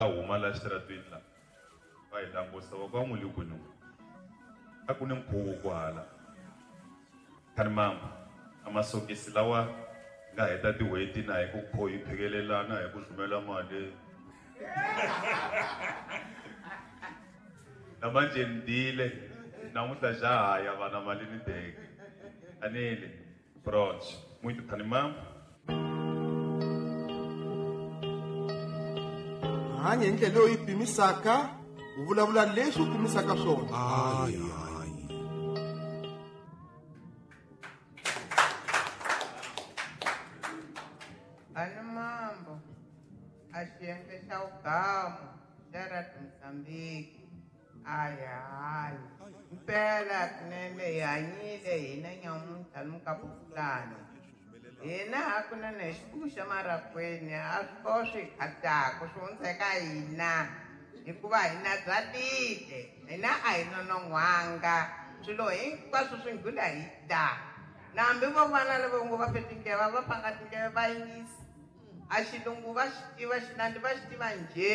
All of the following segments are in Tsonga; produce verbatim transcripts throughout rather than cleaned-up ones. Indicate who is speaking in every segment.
Speaker 1: Huma la xitarateni la va hi langusa va ku a n'wi le kwini a ku ni nkhuvo kwahala khanimambo a masokisi lawa nga heta tin'hweti na hi ku kho hi phikelelana hi ku rhumela mali na manje ndile namuntlha xa ha ya vana mali ni teke anele bronze muito khanimambo.
Speaker 2: Hanya hi ndlela leyi yi pimisaka, u vulavula leswi u pimisaka swona.
Speaker 3: Hayi hayi.
Speaker 4: Khanimambo a xiyenge xa vugamu xa Radio Mozambique hayi hayi mpela kunene hi hanyile hina nyamuntlha ni hina hakunene xibuku xa marhakweni a swi ko swi khataka swi hundzeka hina hikuva hina bya tile hina a hi nonon'hwanga swilo hinkwaswo swi nghula hi ta na hambi vo vana lava ngo va fe tindleve va pfanga tindleve va yingisa a xilungu va xi tiva xinandi va xi tiva njhe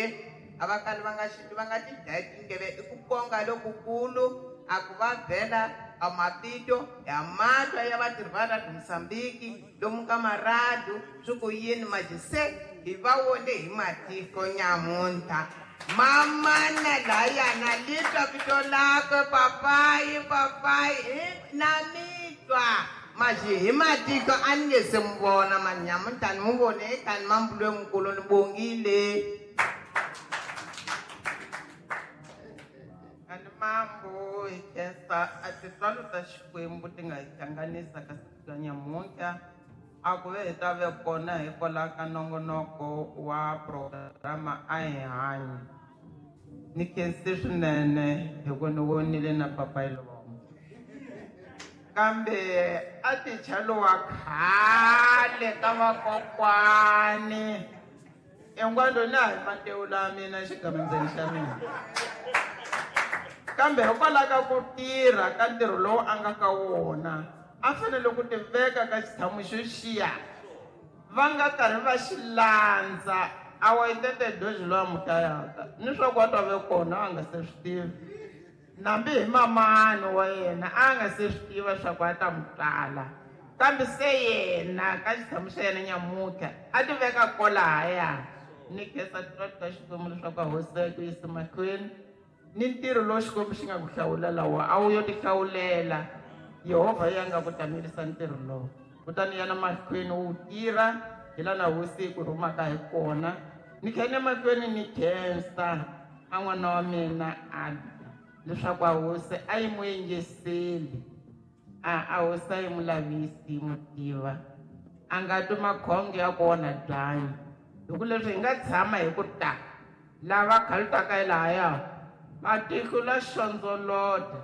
Speaker 4: a va kali va nga xi va nga ti dlayi tindleve i ku konga lokukulu a ku va bela a mapito ya matwa ya vatirhi va Radio Mozambique lomu ka maradu swi ku yini majise hi va vone hi matiko nyamuntlha mamana layana litwa vito lakwe papayi papayi na mitwa maji hi matiko a ni nge se mu vona mani nyamuntlha ni mu vone ekani mambulo mukulu ni bongile. Khanimambo hi khensa a tintswalo ta Xikwembu ti nga hi hlanganisa ka siku ra nyamuntlha a ku ve hi ta ve kona hikwalaho ka nongonoko wa programa a hi hanyi ni khensi swinene hi ku ni vonile na papayi Lombo kambe a ticha lowa khale ka vakokwani engwando na hi matewu la mina xigamandzeni xa mina kambe hikwalaho ka ku tirha ka ntirho lowu a nga ka wona a fanele ku tiveka ka xitshamo xo xiya va nga karhi va xi landza a wa itete doji lowa mutayaka ni swa ku a ta ve kona a nga se swi tivi nambi hi mamani wa yena a nga se swi tiva swa ku a ta mu tala kambe se yena ka xitshamo xa yena nyamuntlha a ti veka kolahaya ni khensa tintswalo ta Xikwembu leswaku a hosi ku yisa mahlweni ni ntirho lowu Xikwembu xi nga ku hlawulela wona a wu yo ti hlawulela Yehovha ya nga ku tamerisa ntirho lowu kutani yana mahlweni wu tirha hi laha na hosi yi ku rhumaka hi kona ni kha ni mahlweni ni khensa a n'wana wa mina a leswaku a hosi a yi mu yingiseli a a hosi a yi mu lavisi yi mu tiva a nga twi makhonge ya ku onha byanyi hi ku leswi hi nga tshama hi ku ta lava khalutaka hi lahaya matiko la xondzolota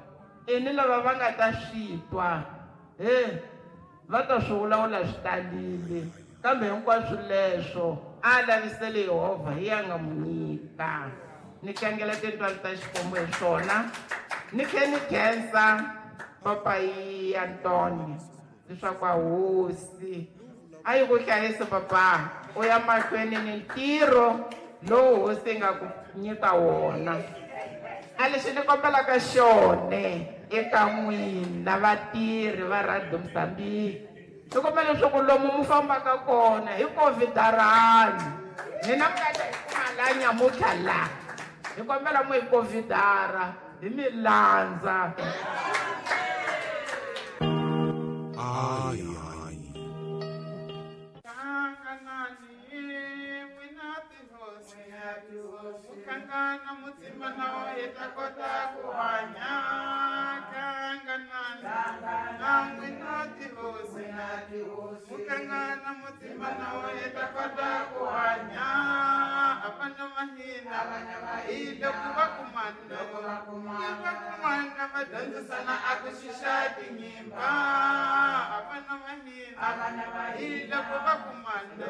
Speaker 4: i ni lava va nga ta swi twa he va ta swi vulavula swi talile kambe hinkwaswo leswo a lavisele Yehovha hi ya nga mu nyika ni tlangela tintswalo ta Xikwembu hi swona ni tlhe ni khensa papayi Antoni leswaku a hosi a yi ku hlayisi papa u ya mahlweni ni ntirho lowu hosi yi nga ku nyika wona a lexi ni kombelaka xone eka n'wina vatirhi va Radio Mozambique ni kombela leswaku lomu mu fambaka kona hi covidarani hina mi nga ta hi kuma la nyamuntlha la hi kombela mu hi covidara hi mi landza.
Speaker 3: Hayi hayi.
Speaker 4: Kangana mutima na hi ta kota ku hanya kanganani na n'wina tihosi mukangana mutima na hi ta kota ku hanya avana va hina hi loko va kumana va kumana va dyondzisana a ku xixa tinyimba avana va hina hi loko va kumana.